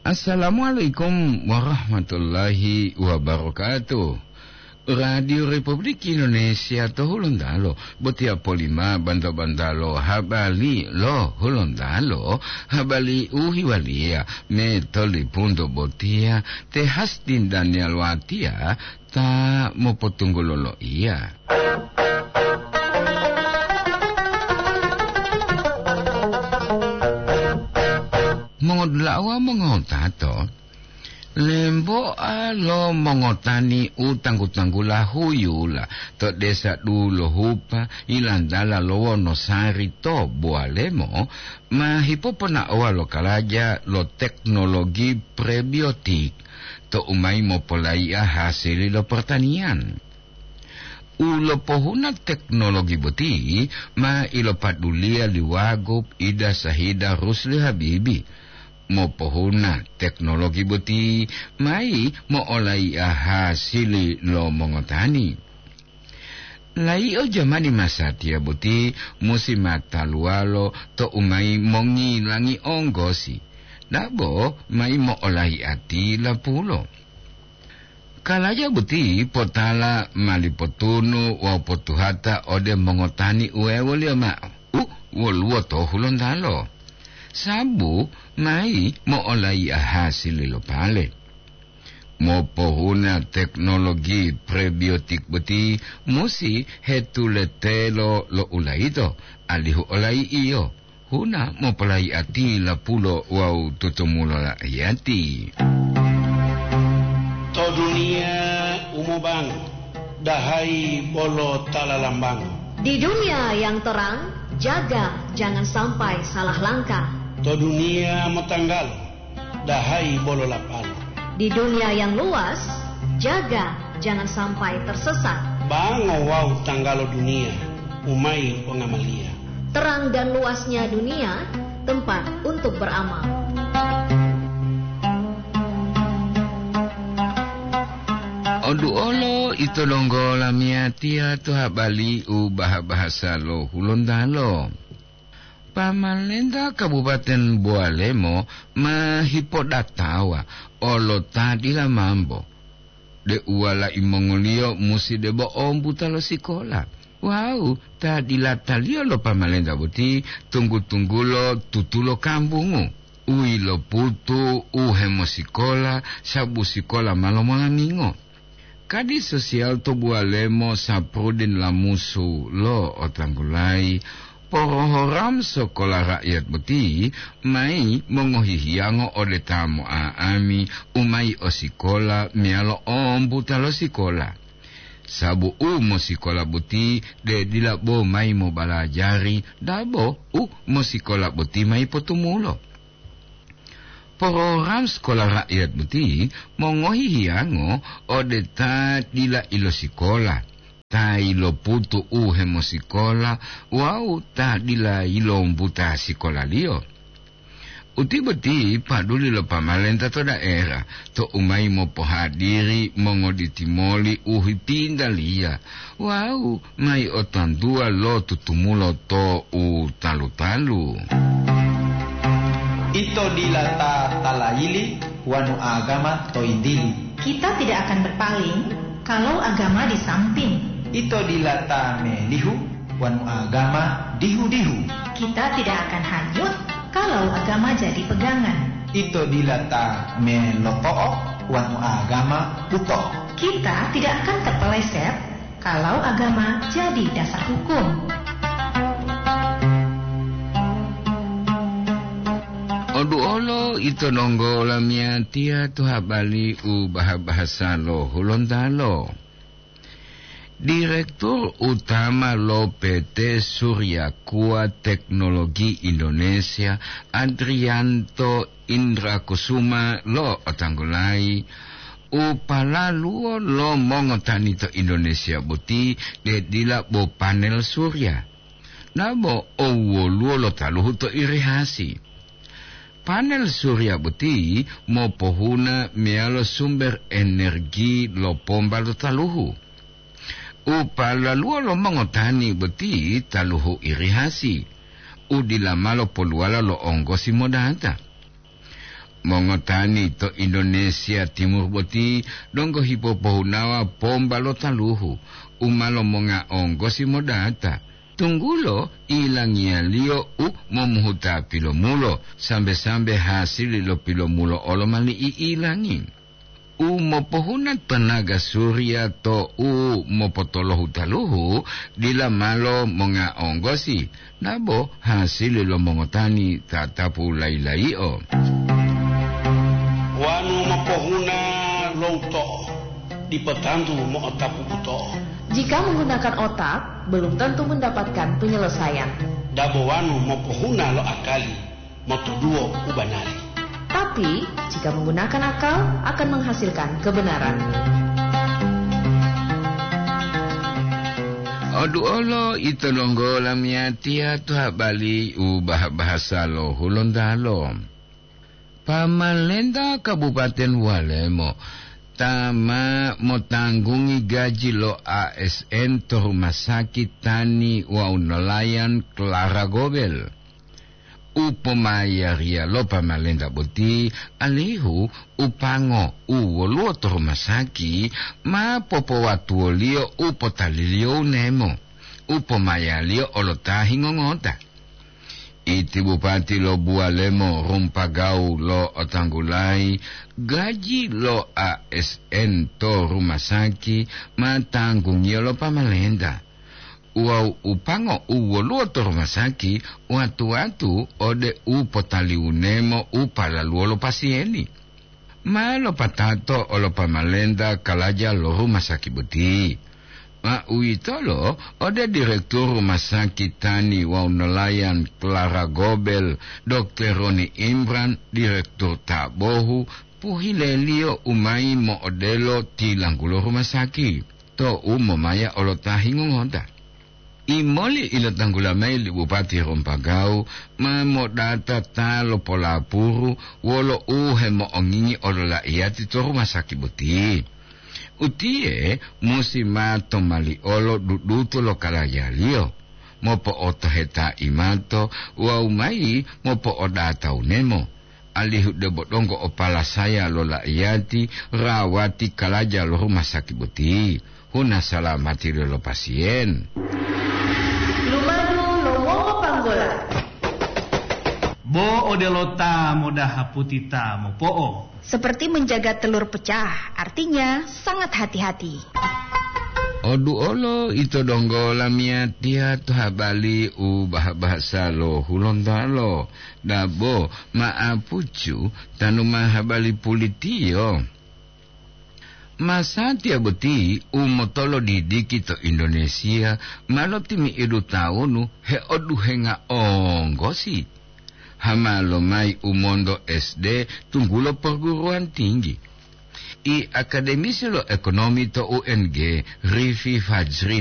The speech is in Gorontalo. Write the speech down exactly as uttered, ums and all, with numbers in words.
Assalamualaikum warahmatullahi wabarakatuh. Radio Republik Indonesia to Hulontalo, botiya polima banta-bantalo habari lo Hulontalo, habari u hiwaliya me tolipunto botiya te Hastin Daniel Watia ta mopotunggulo loiya. Mongodula'a wawu mongotato, lemboa lo mongotani u tanggu-tanggula huyula to desa Dulohupa, yilantala lo Wonosari to Buwalemo, ma hipoponaowa lo kalaja lo teknologi prebiotik to u mayi mopolaiya hasili lo pertanian. U lopohuna teknologi boti ma ilopaduliya li Wagub Ida Sahida Rusli Habibi. Mopohuna teknologi boti mayi mo'olaiya hasili lo mongotani. Layi'o jamani masatiya boti musi mataluwalo to u mayi mongilangi onggosi, dabo mayi mo'olaiya tilapulo. Kalaja boti potala mali potunu wawu potuhata ode mongotani uwewoliyo ma'o u woluwo to Hulontalo, sabu mayi mo'olaiya hasili lo pale. Mopohuna teknologi prebiotik boti musi hetuletelo lo ulayito, alihu olayi'iyo huna mopolayi'ati lapulo wawu tutumulo la'iyati. To duniya u mobango, dahayi bolo ta lalambango. Di dunia yang terang, jaga jangan sampai salah langkah. To duniya motanggalo, dahayi bolo lapalo. Di dunia yang luas, jaga jangan sampai tersesat. Bango wawu tanggalo duniya u mayi pongamaliya. Terang dan luasnya dunia, tempat untuk beramal. Oduolo ito donggo lamiyatiya to habali u baha-bahasa lo Hulontalo. Pamalenta Kabupaten Bowalemo ma hipodatawa olo ta dila mambo, deu walai mongoliyo musi debo ombuta lo sikola. Wawu ta dilataliyo lo pamalenta boti tunggu-tunggulo tutulo kambungu, u yiloputu u hemosikola, sabu sikola ma lomolamingo. Kadi sosial to Buwalemo Saprudin Lamusu lo otanggulayi, porohoram sokola rakyat boti mayi mongohihiyango ode ta mo'a'ami u mayi o sikola meyalo ombuta lo sikola. Sabu u mosikola boti de dila bo mayi mobalajari, dabo u mosikola boti mayi potumulo. Porogram sekolah rakyat boti mongohi hiyango ode ta dila ilosikola, ta iloputu u hemosikola wawu ta dila ilombuta sikolaliyo. Uti boti paduli lo pamalenta to daerah to u mayi mopohadiri mongoditi moli u hipintaliya wawu mayi otantuwa lo tutumulo to u talu-talu. Ito dila ta talayili wanu agama to yintili. Kita tidak akan berpaling kalau agama di samping. Ito dila ta melihu wanu agama dihu-dihu. Kita tidak akan hanyut kalau agama jadi pegangan. Ito dila ta meloto'o wanu agama buto. Kita tidak akan terpeleset kalau agama jadi dasar hukum. Oduolo ito donggo lamiyatiya to habari u baha-bahasa lo Hulontalo. Direktur Utama lo P T Surya Kuat Teknologi Indonesia, Adrianto Indrakusuma lo otanggulayi, u palaluwo lo mongotani to Indonesia boti de dila bo panel surya, nabo owoluwo lo taluhu to irigasi. Panel surya boti mopohuna meyalo sumber energi lo pomba lo taluhu. U palaluwo lo mongotani boti taluhu irigasi, u dila malo poluwala lo onggosi modata. Mongotani to Indonesia Timur boti donggo hipopohunawa pomba lo taluhu u ma lomonga onggosi modata, tunggulo ilangiyaliyo u momuhuta pilomulo, sambe-sambe hasili lo pilomulo olo ma li'ilangi. U mopohuna tanaga surya to u mopotolohu taluhu dila malo monga onggosi, nabo hasili lo mongotani tatapu layi-layio. Wanu mopohuna lo uto'o, dipo tantu mo'otapu buto'o. Jika menggunakan otak, belum tentu mendapatkan penyelesaian. Dabo wanu mopohuna lo akali, motuduwo u banari. Tapi, jika menggunakan akal, akan menghasilkan kebenaran. Oduolo ito donggo lamiyatiya to habari u bah-, bahasa lo Hulontalo. Pamalenta Kabupaten Walemo ta ma motanggungi gaji lo A S N to rumah sakit tani wawu nelayan Clara Gobel. U pomayariya lo pamalenta boti alihu u pango u woluwo to rumah sakit ma popowatuwoliyo u potaliliyo u nemo, u pomayaliyo olo ta hingongota. Iti bupati lo Buwalemo Rumpagawu lo'otanggulayi gaji lo A S N to rumah sakit ma tanggungiyo lo pamalenta. Wawu u pango u woluwo to rumah sakit watu-watu ode u potaliwunemo u palaluwo lo pasiyeni. Ma lopatato olo pamalenta kalaja lo rumah sakit boti. Ma uwitolo ode direktur rumah sakit tani wawu nelayan Clara Gobel, dokter Roni Imran, direktur ta bohu, pohileliyo u mayi mo'odelo tilanggulo rumah sakit. To u momaya olo ta hingongota. Imoli ilotanggula mayi li Bupati Rompagawu ma modata ta lopolapuru wolo u hemo'ongingi olo la'iyati to rumah sakit boti. Utiye musi ma tomali olo dudutu lo kalajaliyo, mopo'otoheta imato wawu mayi mopo'odata unemo, alihu debo donggo o palasaya lo la'iyati rawati kalaja lo rumah sakit boti, huna salamati lo pasiyen. Lumadu lo wongopanggola. Bo odelo ta modaha puti ta mopo'o. Seperti menjaga telur pecah, artinya sangat hati-hati. Oduolo ito donggo lamiyatiya to habari u bah-, bahasa lo Hulontalo. Dabo ma'apucu tanu ma habari pulitiyo. Masatiya boti u motolodidiki to Indonesia ma lotimi'idu tawunu heoduhenga onggosi. Hama lomayi u monto S D tunggulo perguruan tinggi. I akademisi lo ekonomi to U N G, Rifi Fajri,